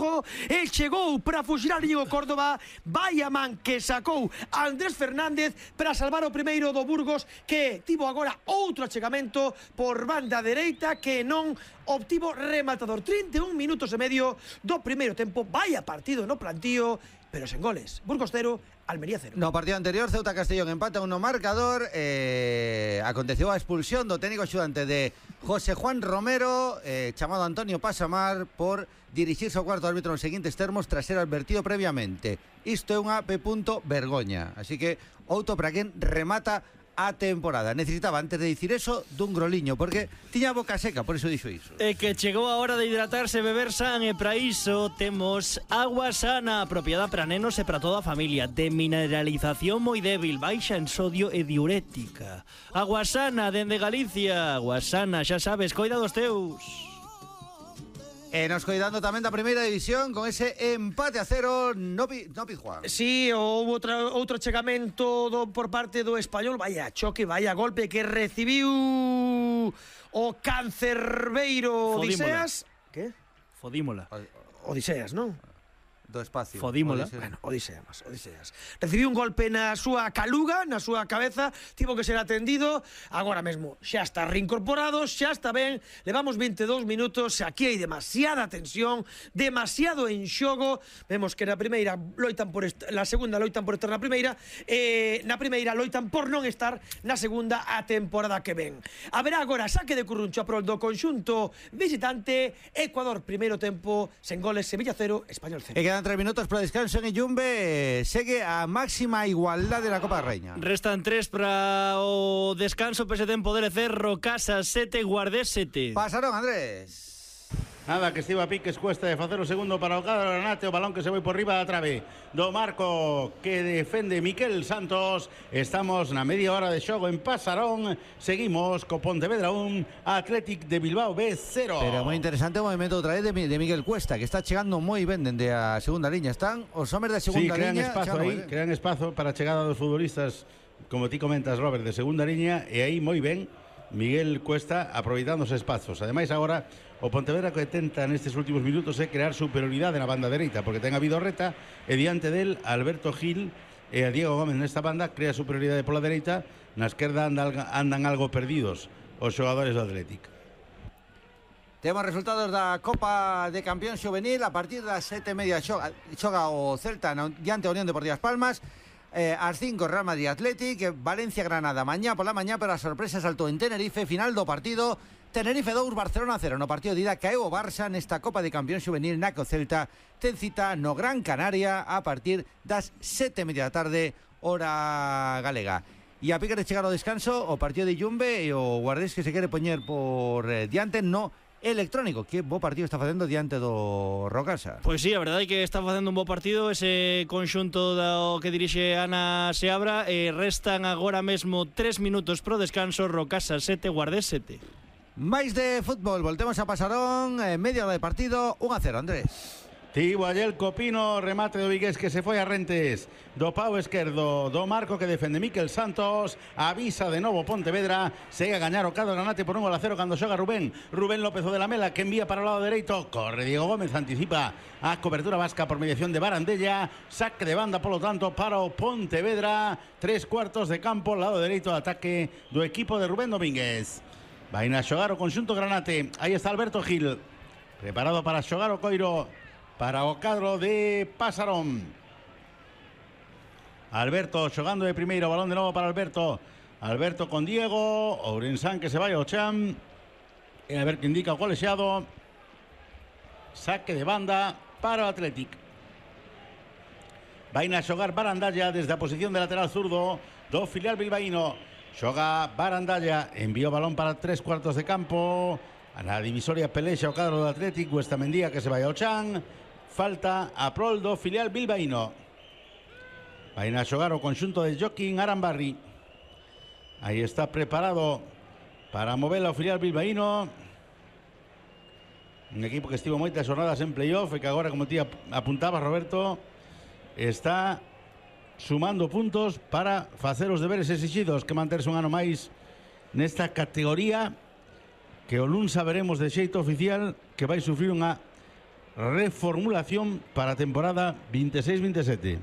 Lugo, e chegou para fuxilar Íñigo Córdoba. Vai a man que sacou Andrés Fernández para salvar o primeiro do Burgos, que tivo agora outro achegamento por banda dereita que non obtivo rematador. 31 minutos e medio do primeiro tempo. Vaya partido no plantío, pero sen goles. Burgos 0, Almería 0. No partido anterior, Ceuta Castellón empata 1 marcador. Aconteceu a expulsión do técnico axudante de José Juan Romero, chamado Antonio Pasamar, por dirixirse ao cuarto árbitro nos seguintes termos tras ser advertido previamente. Isto é unha vergoña. Así que outro para quen remata a temporada. Necesitaba, antes de dicir eso, dun groliño, porque tiña a boca seca, por eso dixo iso. É que chegou a hora de hidratarse, beber san, e para iso temos Agua Sana, apropiada para nenos e para toda a familia, de mineralización moi débil, baixa en sodio e diurética. Agua Sana, dende Galicia. Agua Sana, xa sabes, coida dos teus. E nos coidando tamén da primeira división con ese empate a 0 no Pizjuán. Sí, houve outro chegamento por parte do Español. Vaya choque, vaya golpe que recibiu o cancerbeiro Odiseas. Que? Fodímola. Odiseas, non? Do espacio. Fodímola. Bueno, Odiseas. Recibiu un golpe na súa caluga, na súa cabeza, tivo que ser atendido. Agora mesmo xa está reincorporado, xa está ben. Levamos 22 minutos, aquí hai demasiada tensión, demasiado en xogo. Vemos que na primeira loitan por la segunda loitan por estar na primeira, na primeira loitan por non estar na segunda a temporada que ven. Haberá agora saque de Curruncho a prol do conxunto visitante. Ecuador primeiro tempo sen goles, Sevilla 0, Español 0. E quedan 3 minutos para o descanso en Yumbe. Segue a máxima igualdade na Copa da Reina. Restan 3 para o descanso, pese tempo de Cerro, Casa 7, Guardés 7. Pasaron, Andrés. Nada, que estivo a piques, cuesta de facer o segundo para o cadro Granate, o balón que se foi por riba da trave do marco que defende Miquel Santos. Estamos na media hora de xogo en Pasarón. Seguimos co Pontevedra 1, Athletic de Bilbao B 0. Pero moi interesante o movimento outra vez de Miguel Cuesta, que está chegando moi ben dende a segunda liña. Están os homes da segunda liña. Crean espazo para a chegada dos futbolistas, como ti comentas, Robert, de segunda liña, e aí moi ben Miguel Cuesta aproveitando os espazos. Ademais, agora o Pontevedra que tenta nestes últimos minutos é crear superioridade na banda dereita, porque ten a Vidorreta e diante del Alberto Gil e a Diego Gómez nesta banda. Crea superioridade pola dereita, na esquerda andan algo perdidos os xogadores do Athletic. Temos resultados da Copa de Campeón Xuvenil. A partir das 7:30 xoga o Celta diante da Unión Deportiva As Palmas. As 5 Real Madrid Athletic, Valencia Granada mañá pola mañá, pero a sorpresa saltou en Tenerife. Final do partido, Tenerife 2, Barcelona 0. No partido de ida caeu o Barça nesta Copa de Campeón Xuvenil, na que o Celta ten cita no Gran Canaria a partir das 7:30 da tarde, hora galega. E a pique de chegar ao descanso, o partido de Yumbe e o Guardés que se quere poñer por diante no electrónico. Que bo partido está facendo diante do Rocasa. Pois sí, a verdade é que está facendo un bo partido ese conxunto do que dirixe Ana Seabra. Restan agora mesmo 3 minutos pro descanso. Rocasa 7, Guardés 7. Mais de fútbol, voltemos a Pasarón. Media hora de partido, 1-0, Andrés. Tivo allel Copino, remate do Vigués que se foi a Rentes do pau esquerdo do marco que defende Miquel Santos. Avisa de novo Pontevedra, segue a gañar o cadro Granate por 1-0 cando xoga Rubén López o de la Mela, que envía para o lado dereito. Corre Diego Gómez, anticipa a cobertura vasca por mediación de Barandella. Saque de banda, polo tanto, para o Pontevedra. 3/4 de campo, lado dereito de ataque do equipo de Rubén Domínguez. Vai a xogar o conxunto Granate. Aí está Alberto Gil, preparado para xogar o coiro para o cadro de Pasarón. Alberto xogando de primeiro, balón de novo para Alberto con Diego Ourensán, que se vai ao chan, e a ver que indica o colexiado. Saque de banda para o Athletic. Vai a xogar Barandalla desde a posición de lateral zurdo do filial bilbaíno. Xoga Barandalla, envía o balón para 3/4 de campo. A na divisoria pelexa o cadro do Athletic. Estamendia que se vai ao chan. Falta a prol do filial bilbaíno. Vai a xogar o conxunto de Joaquín Arambarri. Aí está preparado para mover o filial bilbaíno. Un equipo que estivo moitas jornadas en playoff e que agora, como ti apuntabas, Roberto, está sumando puntos para facer os deberes exigidos, que manterse un ano máis nesta categoría que o luns saberemos de xeito oficial que vai sufrir unha reformulación para a temporada 26-27.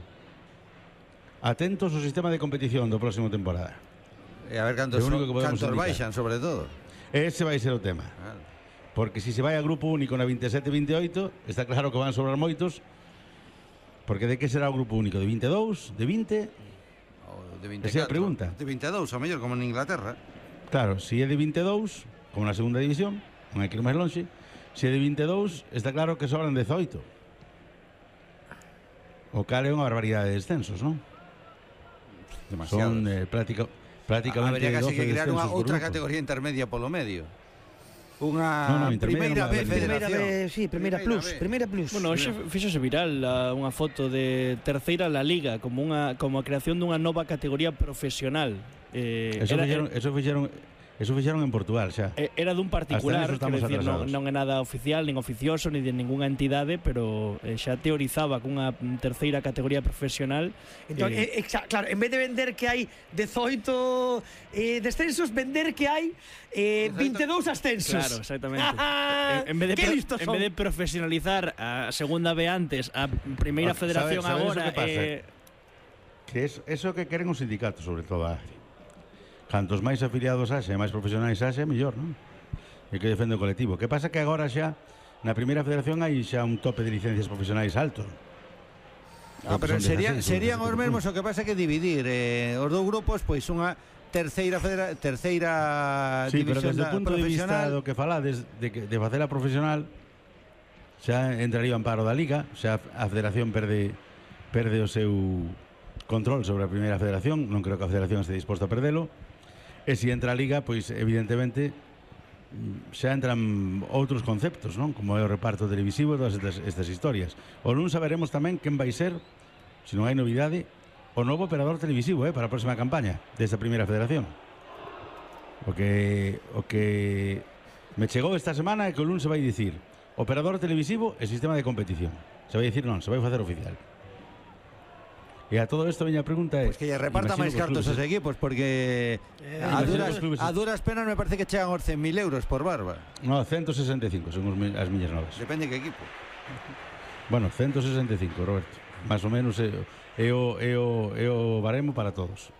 Atentos ao sistema de competición do próximo temporada. E a ver cantos indicar. baixan, sobre todo. Ese vai ser o tema. Claro. Porque si se vai a grupo único na 27-28, está claro que van sobrar moitos. Porque de que será o grupo único? De 22? De 20? Ou de 24. Esa é a pregunta. De 22, a mellor, como en Inglaterra. Claro, si é de 22, como na segunda división, non hai que ir máis longe. Se é de 22, está claro que sobran 18. O cal é unha barbaridade de descensos, non? Demasiado. Son prácticamente Habería casi 12 que crear unha descensos por outra grupo. categoría intermedia polo medio. No, Unha intermedia primeira non vai B haber. federación. Primeira plus. Bueno, hoxe fíxose viral unha foto de terceira La Liga como a creación dunha nova categoría profesional. Eso fixeron en Portugal xa. Era dun particular, Hasta quero neso decir, estamos atrasados. non é nada oficial, nin oficioso, ni de ningunha entidade, pero xa teorizaba cunha terceira categoría profesional. Entón, claro, en vez de vender que hai 18 descensos, vender que hai 22 ascensos. Claro, exactamente. en vez de profesionalizar a segunda B antes, a primeira federación ¿Sabes agora, o que pasa? Que eso que queren os sindicatos, sobre todo a AFI. Cantos máis afiliados haxe, máis profesionais haxe, mellor, non? E que defende o colectivo. Que pasa que agora xa, na primeira federación hai xa un tope de licencias profesionais alto. Pero serían os mesmos, o que pasa que dividir os dous grupos, pois unha terceira sí, pero división desde o punto de vista profesional. do que falades de facela profesional, xa entraría en paro da Liga, xa a federación perde o seu control sobre a primeira federación. Non creo que a federación este disposta a perdelo. E se entra a Liga, pois evidentemente xa entran outros conceptos, non? Como é o reparto televisivo e todas estas historias. O non saberemos tamén quen vai ser, se non hai novidade, o novo operador televisivo para a próxima campaña desta primeira federación. O que me chegou esta semana é que o lunes se vai dicir operador televisivo e sistema de competición. Se vai dicir non, se vai facer oficial. E a todo isto veña a pregunta é... Pois que lle reparta máis cartos aos equipos, porque a duras penas me parece que chegan aos 100.000 euros por barba. No, 165 son as miñas novas. Depende de que equipo. Bueno, 165, Roberto. Más ou menos é o baremo para todos.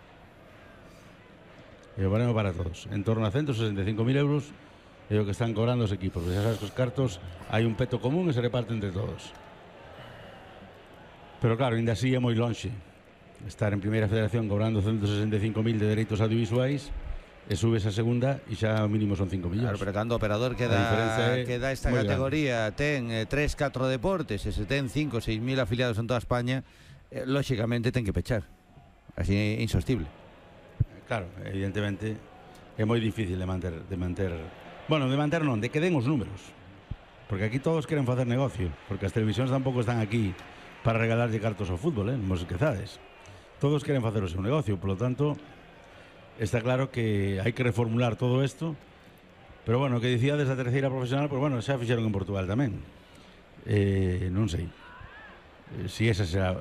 É o baremo para todos. En torno a 165.000 euros é o que están cobrando os equipos. Porque xa sabes que os cartos hai un peto común e se reparten entre todos. Pero claro, ainda así é moi lonxe estar en primeira federación cobrando 165.000 de dereitos audiovisuais e subes a segunda e xa o mínimo son 5 millóns. Claro, pero cando o operador que dá esta categoría ten 3-4 deportes e se ten 5-6.000 afiliados en toda España, lóxicamente ten que pechar. Así é insostible. Claro, evidentemente é moi difícil de manter. Bueno, de manter non, de que den os números. Porque aquí todos queren facer negocio, porque as televisións tampouco están aquí para regalarlle cartos ao fútbol, non vos esquezades. Todos queren facer o seu negocio, polo tanto, está claro que hai que reformular todo isto. Pero bueno, o que dicía desa terceira profesional, pues bueno, xa fixeron en Portugal tamén. Non sei. Si esa será,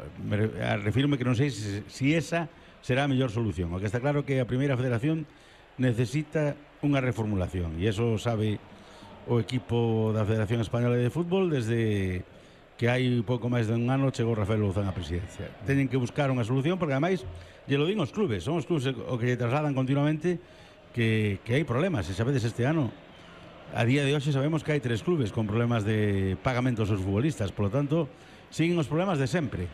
refirme que non sei si esa será a mellor solución. O que está claro que a primeira federación necesita unha reformulación, e iso sabe o equipo da Federación Española de Fútbol desde que hai pouco máis de un ano chegou Rafael Louzán á presidencia. Teñen que buscar unha solución, porque ademais lle lo din os clubes, son os clubes o que lle trasladan continuamente que hai problemas. E sabedes, este ano a día de hoxe sabemos que hai 3 clubes con problemas de pagamentos aos futbolistas, polo tanto siguen os problemas de sempre.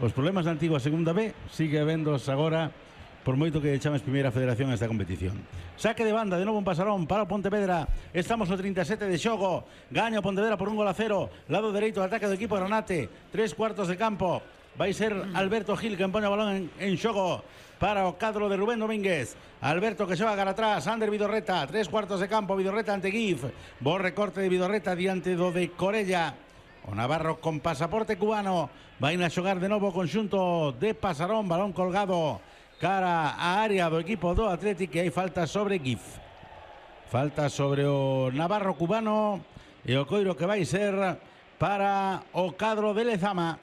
Os problemas da antigua segunda B sigue habendos agora, por moito que chames primeira federación a esta competición. Saque de banda de novo en Pasarón para o Pontevedra. Estamos no 37 de xogo. Gaña o Pontevedra por 1-0. Lado dereito de ataque do equipo Granate. 3/4 de campo. Vai ser Alberto Gil que pone o balón en xogo para o cadro de Rubén Domínguez. Alberto que xoga cara atrás. Ander Vidorreta. 3/4 de campo. Vidorreta ante Gif. Bo recorte de Vidorreta diante do de Corella. O Navarro con pasaporte cubano. Vai a xogar de novo o conxunto de Pasarón. Balón colgado cara a área do equipo do Atlético, e hai falta sobre Gif. Falta sobre o Navarro cubano e o coiro que vai ser para o cadro de Lezama.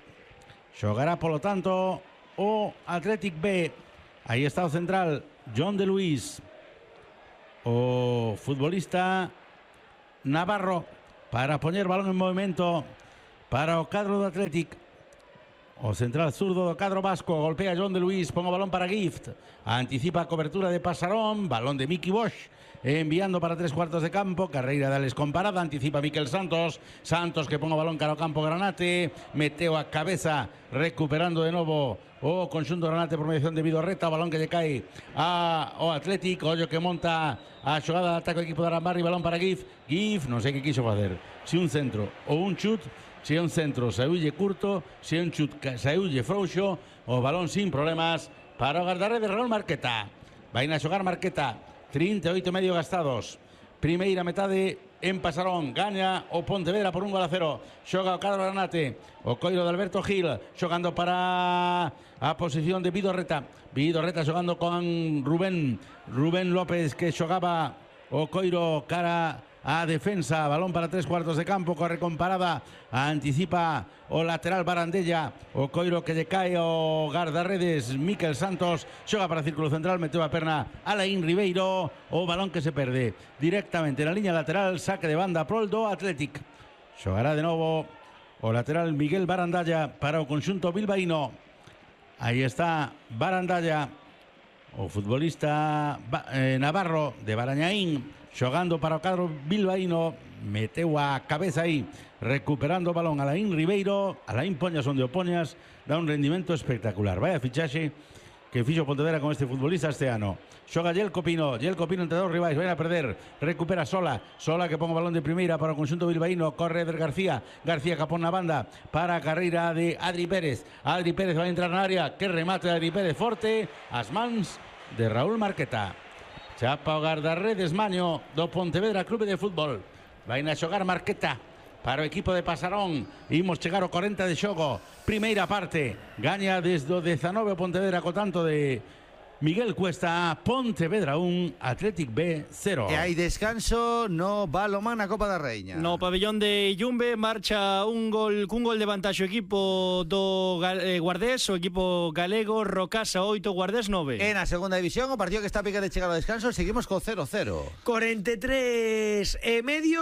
Xogará polo tanto o Atlético B. Aí está o central John de Luis. O futbolista Navarro para poñer balón en movimento para o cadro do Athletic. O central zurdo do cadro vasco, golpea John de Luis, pon o balón para Gift, anticipa a cobertura de Pasarón, balón de Miki Bosch, enviando para 3/4 de campo, carreira de Alex Comparada, anticipa Miquel Santos, Santos que pon o balón cara ao campo Granate, meteu a cabeza, recuperando de novo o conxunto Granate por mediación de Vidorreta, o balón que lle cae ao Athletic, ollo que monta a xogada de ataque do equipo de Arambarri, balón para Gift, non sei que quiso facer, si un centro ou un chut. Si é un centro, saúlle curto, si é un chut, saúlle frouxo, o balón sin problemas para o guardarredes Raúl Marqueta. Vai a xogar Marqueta, 38 medio gastados. Primeira metade en Pasarón, gaña o Pontevedra por 1-0. Xoga o cadro Granate, o coiro de Alberto Gil, xogando para a posición de Vidorreta. Vidorreta xogando con Rubén López, que xogaba o coiro cara a defensa, balón para 3/4 de campo, corre con parada, anticipa o lateral Barandella, o coiro que lle cae o guardarredes Miquel Santos, xoga para círculo central, meteu a perna Alain Ribeiro, o balón que se perde directamente na liña lateral, saque de banda prol do Athletic. Xogará de novo o lateral Miguel Barandalla para o conxunto bilbaíno. Aí está Barandalla, o futbolista navarro de Barañaín, xogando para o cadro bilbaíno, meteu a cabeza aí, recuperando o balón Alain Ribeiro, Alain Poñas onde o Poñas, dá un rendimento espectacular. Vaya fichaxe que fixo Pontevedra con este futbolista este ano. Xoga Yelko Pino entre dos rivais, vai a perder, recupera Sola que pon o balón de primeira para o conxunto bilbaíno, corre Eder García que pon na banda para a carreira de Adri Pérez vai entrar na área, que remate de Adri Pérez forte, as mans de Raúl Marqueta. Chapa o guardarredes Maño do Pontevedra Clube de Fútbol. Vai a xogar Marqueta para o equipo de Pasarón. Imos chegar ao 40 de xogo. Primeira parte. Gaña desde o 19 o Pontevedra co tanto de Miguel Cuesta. Pontevedra 1, Athletic B 0. E hai descanso no balomán na Copa da Reina. No pabellón de Yumbe marcha cun gol de vantaxe o equipo do Guardés, o equipo galego, Rocasa 8, Guardés 9. En a segunda división, o partido que está a picar de chegar ao descanso, seguimos co 0-0. 43 e medio.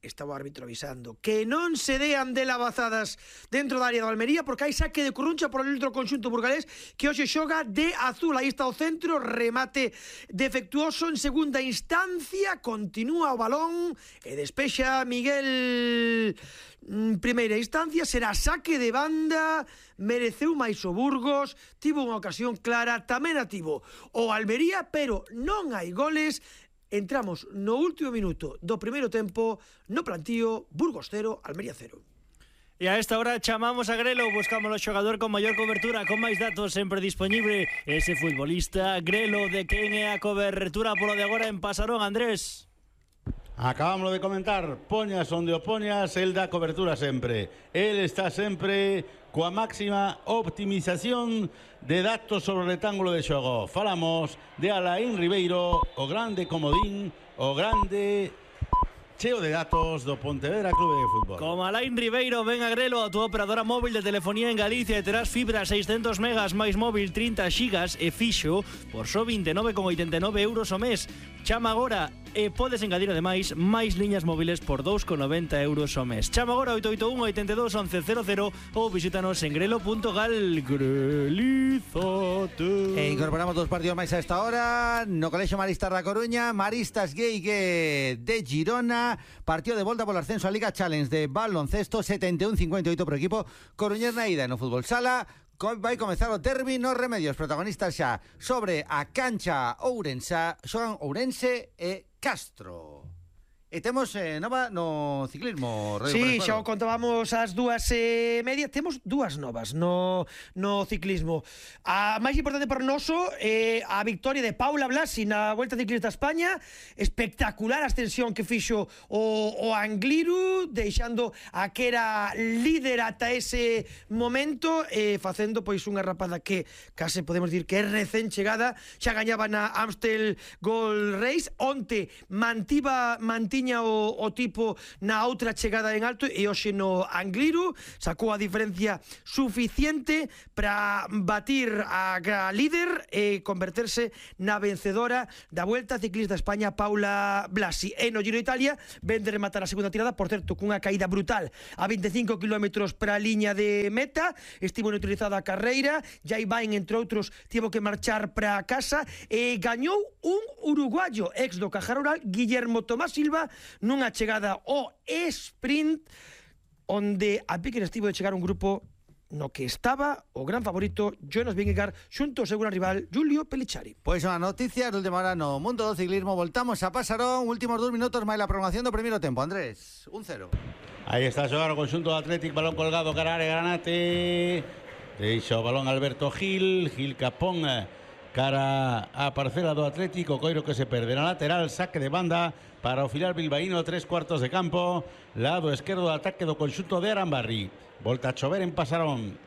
Está o árbitro avisando que non se dean de lavazadas dentro da área do Almería, porque hai saque de Coruncha por el outro conxunto burgalés que hoxe xoga de azul. Aí está o centro, remate defectuoso en segunda instancia, continúa o balón e despexa Miguel. Primeira instancia, será saque de banda, mereceu máis o Burgos, tivo unha ocasión clara, tamén a tivo o Almería, pero non hai goles. Entramos no último minuto do primeiro tempo, no plantío, Burgos 0, Almería 0. E a esta hora chamamos a Grelo, buscamos o xogador con maior cobertura, con máis datos sempre disponible, ese futbolista Grelo, de quen é a cobertura polo de agora en Pasarón, Andrés. Acabámoslo de comentar, Poñas onde o Poñas, el dá cobertura sempre. El está sempre coa máxima optimización de datos sobre o rectángulo de xogo. Falamos de Alain Ribeiro, o grande comodín, o grande cheo de datos do Pontevedra Clube de Fútbol. Como Alain Ribeiro, ven a Grelo, a tua operadora móvil de telefonía en Galicia, e terás fibra 600 megas máis móvil 30 xigas e fixo por só 29,89 euros o mes. Chama agora e podes engadir ademais máis liñas móviles por 2,90 euros o mes. Chama agora 881 82 11 00 ou visítanos en grelo.gal. Grelízate. E incorporamos dos partidos máis a esta hora no Colexio Maristas da Coruña, Maristas Gueigue de Girona, partido de volta polo ascenso a Liga Challenge de baloncesto, 71-58 pro equipo coruñés na ida. No fútbol sala vai comezar o derbi nos Remedios, protagonistas xa sobre a cancha ourensa, xogan Ourense e Castro. E temos nova no ciclismo, Radio Sí, xa o contábamos ás 2:30. Temos dúas novas no ciclismo. A máis importante para noso é a victoria de Paula Blasi na Volta Ciclista a España. Espectacular a ascensión que fixo o Angliru, deixando a que era líder ata ese momento, facendo pois unha rapada que case podemos dir que é recén chegada. Xa gañaba na Amstel Gold Race. Onte mantiña tiña o tipo na outra chegada en alto e hoxe no Angliru sacou a diferencia suficiente para batir a líder e converterse na vencedora da Vuelta Ciclista España, Paula Blasi. E no Giro de Italia ven de rematar a segunda tirada, por certo, cunha caída brutal a 25 km para a liña de meta. Estivo neutralizada a carreira, Jai Bain, entre outros, tivo que marchar para casa e gañou un uruguayo, ex do Caja Rural, Guillermo Tomás Silva, nunha chegada ao sprint onde a pique estivo de chegar un grupo no que estaba o gran favorito Jonas Vingegaard xunto ao seu gran rival Giulio Pellicciari. Pois unha noticia de última hora no mundo do ciclismo. Voltamos a Pasarón, últimos 2 minutos máis la prolongación do primeiro tempo. Andrés, 1-0. Aí está a xogar o conxunto do Athletic, balón colgado cara a área Granate. Deixa o balón Alberto Gil Capón cara a parcela do Atlético, Coiro que se perde na lateral, saque de banda para o filial bilbaíno, 3/4 de campo, lado esquerdo de ataque do conxunto de Arambarri. Volta a chover en Pasarón.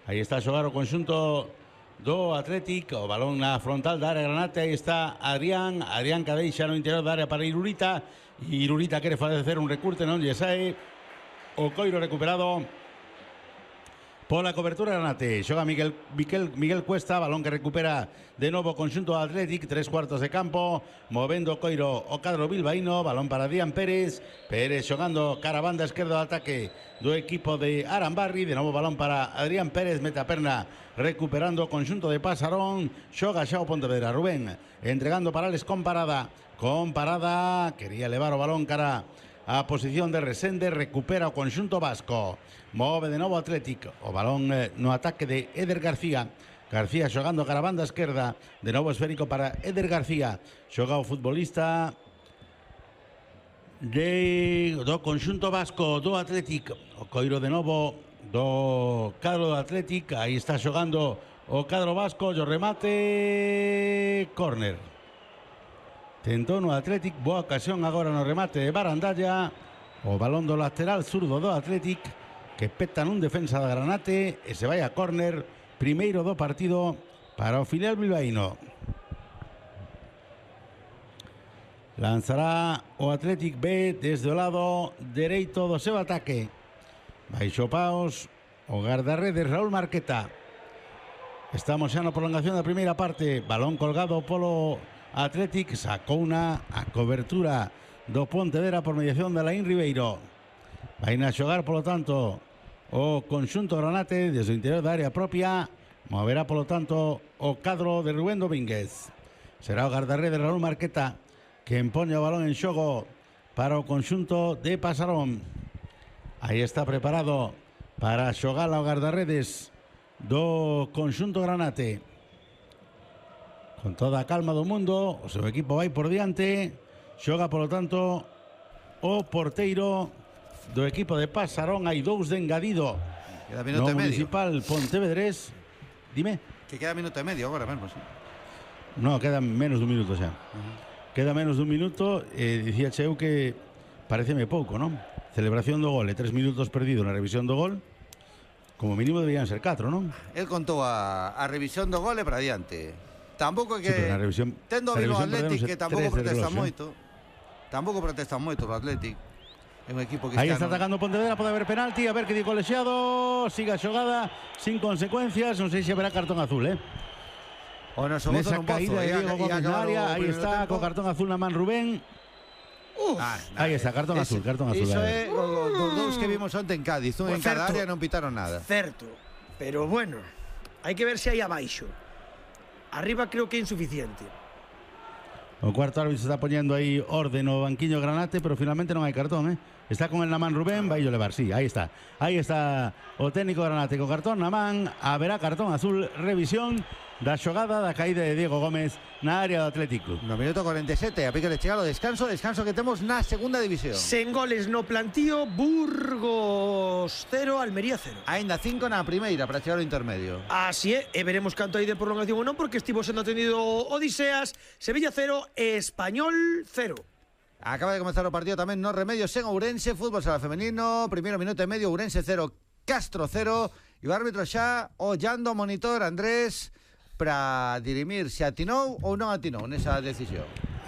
Aí está a xogar o conxunto do Atlético, o balón na frontal da área Granate. Aí está Adrián que deixa no interior da área para Irurita. Irurita quere facer un recurte, non lle sae. O Coiro recuperado pola cobertura Granate. Xoga Miguel Cuesta, balón que recupera de novo conxunto do Athletic, 3/4 de campo, movendo o Coiro o cadro bilbaíno, balón para Adrián Pérez xogando cara a banda esquerda do ataque do equipo de Arambarri, de novo balón para Adrián Pérez, mete a perna recuperando o conxunto de Pasarón, xoga xa o Pontevedra, Rubén entregando para Alex con parada, quería levar o balón cara a posición de Resende, recupera o conxunto vasco, move de novo Atlético, o balón no ataque de Eder García xogando cara a banda esquerda, de novo esférico para Eder García, xoga o futbolista do conxunto vasco do Atlético, o Coiro de novo do cadro do Atlético, aí está xogando o cadro vasco, o remate, córner. Tentou no Atlético, boa ocasión agora no remate de Barandalla, o balón do lateral zurdo do Atlético que peta nun defensa da Granate e se vai a córner, primeiro do partido para o filial bilbaíno. Lanzará o Atlético B desde o lado dereito do seu ataque. Baixo paus o guardarredes Raúl Marqueta. Estamos xa na prolongación da primeira parte, balón colgado polo Atlético, sacou a cobertura do Pontevedra por mediación de Alain Ribeiro. Vai a xogar, polo tanto, o conxunto Granate desde o interior da área propia, moverá, polo tanto, o cadro de Rubén Domínguez. Será o guardarredes Raúl Marqueta que empoña o balón en xogo para o conxunto de Pasarón. Aí está preparado para xogar ao guardarredes do conxunto Granate. Con toda a calma do mundo, o seu equipo vai por diante, xoga, polo tanto, o porteiro do equipo de Pasarón. Hai 2 de engadido queda minuto no e medio. Municipal Pontevedrés. Dime. Que queda minuto e medio agora mesmo, sí. No, queda menos dun minuto xa. Queda menos dun minuto, dicía eu que pareceme pouco, non? Celebración do gol e 3 minutos perdido na revisión do gol. Como mínimo deberían ser 4, non? El contou a revisión do gol e para diante. Tampouco é que Sí, pero na revisión, tendo vivo o Atlético que tampouco protesta 3-0, moito. Tampouco protesta moito o Atlético. É un equipo que aí está atacando Pontevedra, pode haber penalti, a ver que di colexiado, siga a xogada sin consecuencias, non sei se haberá cartón azul, O noso gozo nesa non caída de Diego Gómez na área, aí está co cartón azul na man Rubén. Aí está, cartón azul. Iso é os dous que vimos onte en Cádiz, un en cada área non pitaron nada. Certo, pero bueno, hai que ver se hai abaixo. Arriba creo que é insuficiente. O cuarto árbitro está poñendo aí orden no banquiño Granate, pero finalmente non hai cartón, Está con el na man Rubén, vai yo levar, sí, aí está. Aí está o técnico Granate co cartón na man, haberá cartón azul, revisión da xogada da caída de Diego Gómez na área do Atlético. No minuto 47, a pique de chegar o descanso que temos na segunda división. Sen goles no plantío, Burgos 0, Almería 0. Ainda 5 na primeira para chegar ao intermedio. Así é, e veremos canto hai de prolongación ou non, porque estivo sendo atendido Odiseas, Sevilla 0, Español 0. Acaba de comenzar o partido tamén no Remedios en Ourense, fútbol sala femenino, primeiro minuto e medio, Ourense 0, Castro 0, e o árbitro xa ollando o monitor, Andrés, para dirimir se atinou ou non atinou nesa decisión.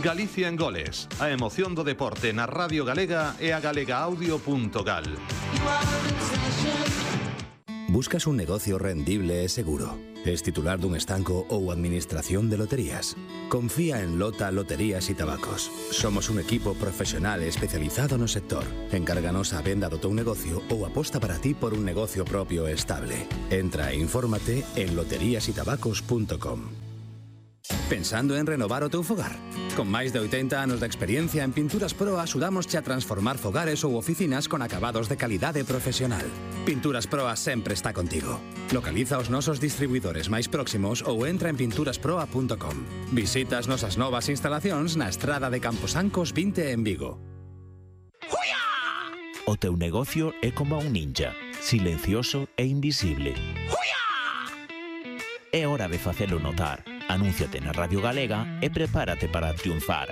Galicia en Goles, a emoción do deporte na Radio Galega e a galegaaudio.gal. Buscas un negocio rendible e seguro? Es titular dun estanco ou administración de loterías? Confía en Lota Loterías y Tabacos. Somos un equipo profesional especializado no sector. Encárganos a venda do teu negocio ou aposta para ti por un negocio propio e estable. Entra e infórmate en loteriasytabacos.com. Pensando en renovar o teu fogar? Con máis de 80 anos de experiencia en Pinturas Pro axudamosche a transformar fogares ou oficinas con acabados de calidade profesional. Pinturas Proa sempre está contigo. Localiza os nosos distribuidores máis próximos ou entra en pinturasproa.com. Visita as nosas novas instalacións na estrada de Camposancos 20 en Vigo. O teu negocio é como un ninja, silencioso e invisible. É hora de facelo notar. Anúnciate na Radio Galega e prepárate para triunfar.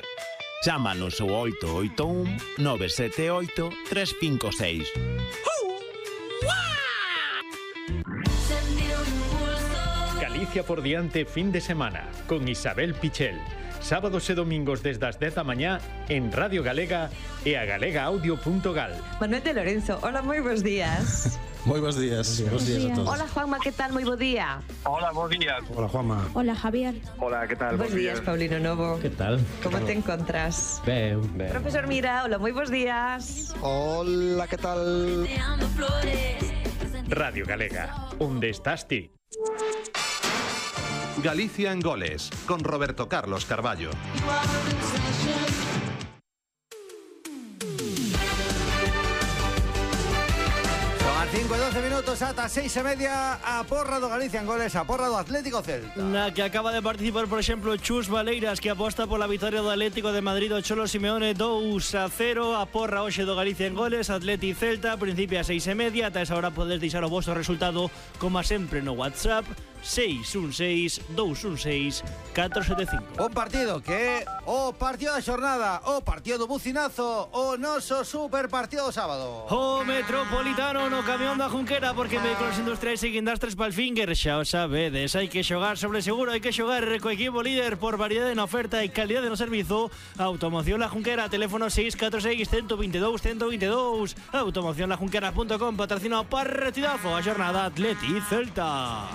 Chámanos ao 881 978 356. Galicia por diante fin de semana con Isabel Pichel. Sábados e domingos desde as 10 da mañá en Radio Galega e a galegaaudio.gal. Manuel de Lorenzo, hola, moi bons días. Moi bons días. Bons días a todos. Hola, Juanma, que tal? Moi bo día. Hola, bons días. Hola, Juanma. Hola, Javier. Hola, que tal? Bons días, Paulino Novo. Que tal? Como te encontras? Ben. Profesor Mira, hola, moi bons días. Hola, que tal? Radio Galega, onde estás ti? Galicia en Goles, con Roberto Carlos Carballo. Son as 5:12 ata 6:30 a porra do Galicia en Goles, a porra do Atlético Celta. Na que acaba de participar, por exemplo, Chus Valeiras, que aposta pola vitória do Atlético de Madrid o Cholo Simeone 2-0. A porra hoxe do Galicia en Goles, Atleti Celta, principio a 6:30. Ata esa hora podes deixar o vosso resultado, como sempre, no WhatsApp 616-216-475. Un partido que é o partido da xornada, o partido do bucinazo, o noso super partido do sábado. O Metropolitano no camión da Junquera, porque vehículos industriais e guindastres Palfinger, xa o sabedes, hai que xogar sobre seguro, hai que xogar co equipo líder por variedade na oferta e calidade no servizo. Automoción La Junquera, teléfono 646-122-122. Automociónlajunquera.com, patrocina o partidazo a xornada Atleti Celta.